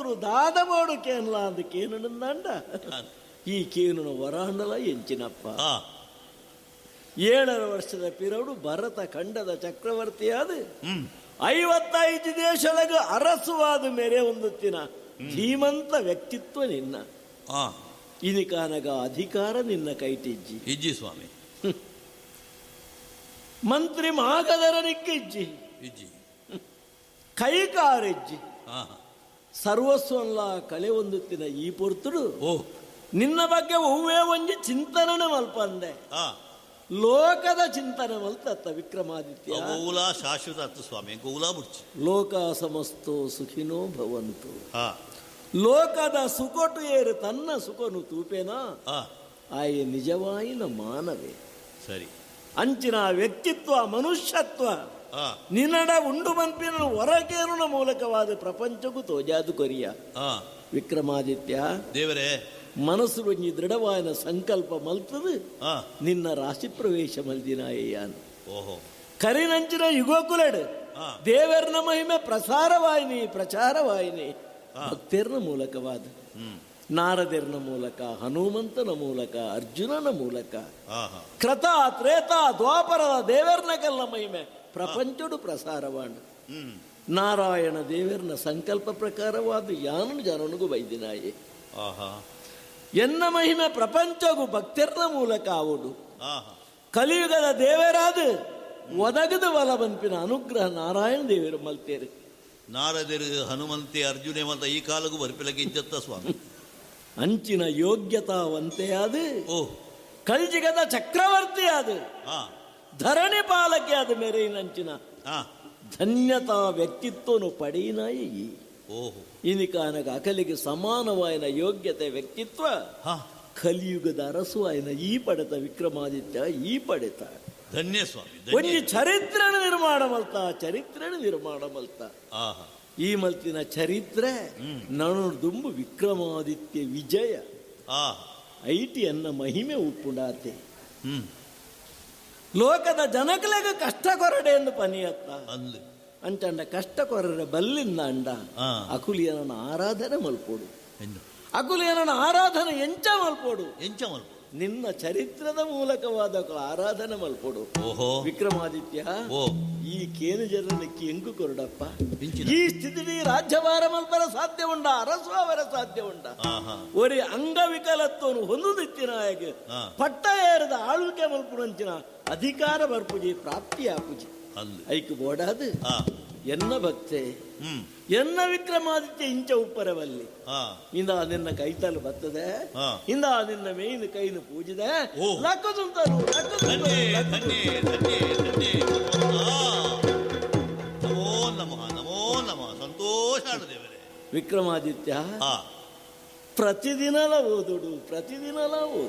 ಪೊರ್ತುಡು ದಾದಬೋಡು ಕೇನ್ಲ ಅಂದ್ ಕೇನುಂಡ ಈ ಕೇನುನ ವರಾಂಡಲ ಎಂಚಿನಪ್ಪ. 7.5 ವರ್ಷದ ಪಿರಡು ಭರತ ಖಂಡದ ಚಕ್ರವರ್ತಿಯಾದ 55 ದೇಶದ ಅರಸುವಾದ ಮೇರೆ ಹೊಂದುತ್ತಿನ ಧೀಮಂತ ವ್ಯಕ್ತಿತ್ವ ನಿನ್ನ. ಇನಿಕಾನಗ ಅಧಿಕಾರ ನಿನ್ನ ಕೈಟಿಜ್ಜಿ ಇಜ್ಜಿ ಸ್ವಾಮಿ. ಮಂತ್ರಿ ಮಾಗದರನಿಕ್ಕಿಜ್ಜಿ ಇಜ್ಜಿ, ಕೈಕಾರಿಜ್ಜಿ, ಸರ್ವಸ್ವಲ್ಲ ಕಳೆ ಹೊಂದುತ್ತಿನ ಈ ಪೊರ್ತುಡು ನಿನ್ನ ಬಗ್ಗೆ ಹೂವೇ ಒಂಜಿ ಚಿಂತನೆ ಮಲ್ಪಂದೆ ಲೋಕದ ಚಿಂತನೆ ಮಲ್ತತ್ತ ವಿಕ್ರಮಾದಿತ್ಯ. ಗೋವುಲಾ ಶಾಶ್ವತ ಅತ್ತ ಸ್ವಾಮಿ, ಗೋವುಲಾ ಬುಡ್ಚಿ. ಲೋಕ ಸಮಸ್ತೋ ಸುಖಿನೋ ಭವಂತು. ಲೋಕದ ಸುಕೊಟು ಏರು ತನ್ನ ಸುಖನು ತೂಪೇನಾ ಆಯೆ ನಿಜವಾಯಿನ ಮಾನವೇ. ಸರಿ, ಅಂಚಿನ ವ್ಯಕ್ತಿತ್ವ ಮನುಷ್ಯತ್ವ ನಿನ್ನಡ ಉಂಡು ಮನ್ಪಿನ ಹೊರಗೇರುನ ಮೂಲಕವಾದ ಪ್ರಪಂಚಕ್ಕೂ ತೋಜಾದು ಕೊರಿಯ ವಿಕ್ರಮಾದಿತ್ಯ ದೇವರೇ. ಮನಸ್ಸು ಒಂಜಿ ದೃಢವಾದ ಸಂಕಲ್ಪ ಮಲ್ತದು ನಿನ್ನ ರಾಶಿ ಪ್ರವೇಶ ಮಲ್ದಿನಾಯ್ಯಾನು. ಓಹೋ, ಕರಿನಂಚಿನ ಯುಗೋಕುಲಡು ದೇವರನ ಮಹಿಮೆ ಪ್ರಸಾರವಾಯಿನಿ ಪ್ರಚಾರವಾಯಿನಿ ಭಕ್ತಿರ್ನ ಮೂಲಕವಾದ ನಾರದಿರ್ನ ಮೂಲಕ, ಹನುಮಂತನ ಮೂಲಕ, ಅರ್ಜುನನ ಮೂಲಕ, ಕ್ರತ ತ್ರೇತ ದ್ವಾಪರದ ದೇವರ್ನ ಕಲ್ಲ ಮಹಿಮೆ ಪ್ರಪಂಚಡು ಪ್ರಸಾರವಾಣ. ನಾರಾಯಣ ದೇವರ್ನ ಸಂಕಲ್ಪ ಪ್ರಕಾರವಾದ ಯಾನು ಜನನಿಗೂ ಬೈದಿನಾಯೆ. ಎನ್ನ ಮಹಿಮೆ ಪ್ರಪಂಚಗೂ ಭಕ್ತಿರ್ನ ಮೂಲಕ ಆವುಡು. ಕಲಿಯುಗದ ದೇವರಾದ ಒದಗದು ಬಲ ಬಂಪಿನ ಅನುಗ್ರಹ ನಾರಾಯಣ ದೇವರು ಮಲ್ತೇರು. ನಾರದರು ಹನುಮಂತೆ ಅರ್ಜುನೆ ಮತ ಈ ಕಾಲಕ್ಕೂ ಬರ್ಪಿಲಕ್ಕೆ ಸ್ವಾಮಿ. ಅಂಚಿನ ಯೋಗ್ಯತಾವಂತೆಯಾದ ಕಲ್ಜಿಗದ ಚಕ್ರವರ್ತಿ ಆದ ಧರಣಿ ಪಾಲಕೆ ಆದ ಮೇರೆಯಿನಂಚಿನ ಧನ್ಯತಾ ವ್ಯಕ್ತಿತ್ವನು ಪಡೆಯಿನಾಯಿ. ಇನಿಕಾನಗ ಅಕಲಿಗೆ ಸಮಾನವಾಯಿನ ಯೋಗ್ಯತೆ ವ್ಯಕ್ತಿತ್ವ ಕಲಿಯುಗದ ಅರಸು ಆಯ್ನ ಈ ಪಡೆತ ವಿಕ್ರಮಾದಿತ್ಯ, ಈ ಪಡೆತ ಧನ್ಯ ಸ್ವಾಮಿ. ಒಂಜಿ ಚರಿತ್ರೆ ನಿರ್ಮಾಣ ಮಲ್ತ, ಚರಿತ್ರೆ ನಿರ್ಮಾಣ ಮಲ್ತ. ಈ ಮಲ್ತಿನ ಚರಿತ್ರೆ ನಣು ದುಂಬು ವಿಕ್ರಮಾದಿತ್ಯ ವಿಜಯ ಐಟಿ ಅನ್ನ ಮಹಿಮೆ ಉಪ್ಪುಂಡಾತೆ. ಲೋಕದ ಜನಕಲೆಗ ಕಷ್ಟ ಕೊರಡೆ ಎಂದು ಪನಿಯತ್ತ ಅಂಚಂಡ ಕಷ್ಟ ಕೊರಡೆ ಬಲ್ಲಿಂದ ಅಂಡ ಅಕುಲಿಯನ ಆರಾಧನೆ ಮಲ್ಪೋಡು, ಅಕುಲಿಯನ ಆರಾಧನೆ ಎಂಚ ಮಲ್ಪೋಡು, ಎಂಚ ಮಲ್ಪೋಡು ನಿನ್ನ ಚರಿತ್ರದ ಮೂಲಕವಾದ ಆರಾಧನೆ ಮಲ್ಪೋಡು. ವಿಕ್ರಮಾದಿತ್ಯ, ಈ ಕೇನು ಜನಕ್ಕೆ ಎಂಕು ಕೊರಡಪ್ಪ. ಈ ಸ್ಥಿತಿ ರಾಜ್ಯಭಾರ ಮಲ್ಪರ ಸಾಧ್ಯ ಉಂಡ, ಅರಸು ಅವರ ಸಾಧ್ಯ ಉಂಡ. ಒರಿ ಅಂಗವಿಕಲತ್ವನು ಹೊಂದುದಿತ್ತಿನಾಯಕ ಪಟ್ಟ ಏರದ ಆಳ್ವಿಕೆ ಮಲ್ಪುಣಂಚಿನ ಅಧಿಕಾರ ಬರ್ಪುಜಿ ಪ್ರಾಪ್ತಿ ಆಪುಜಿ ಐಕು ಬೋಡಾದು ಎನ್ನ ಭಕ್ತೆ ಎನ್ನ ವಿಕ್ರಮಾದಿತ್ಯ ಇಂಚ ಉಪ್ಪರವಲ್ಲಿ ಇಂದ ನಿನ್ನ ಕೈತಲು ಬರ್ತದೆ, ಇಂದ ನಿನ್ನ ಮೇಯ್ನ ಕೈನು ಪೂಜಿದೆ ಲಕ್ಕುಂತರು. ನಮೋ ನಮಃ, ನಮೋ ನಮಃ. ಸಂತೋಷ ದೇವರೇ. ವಿಕ್ರಮಾದಿತ್ಯ ಪ್ರತಿದಿನಲ ಓದುಡು, ಪ್ರತಿದಿನಲ ಓದು.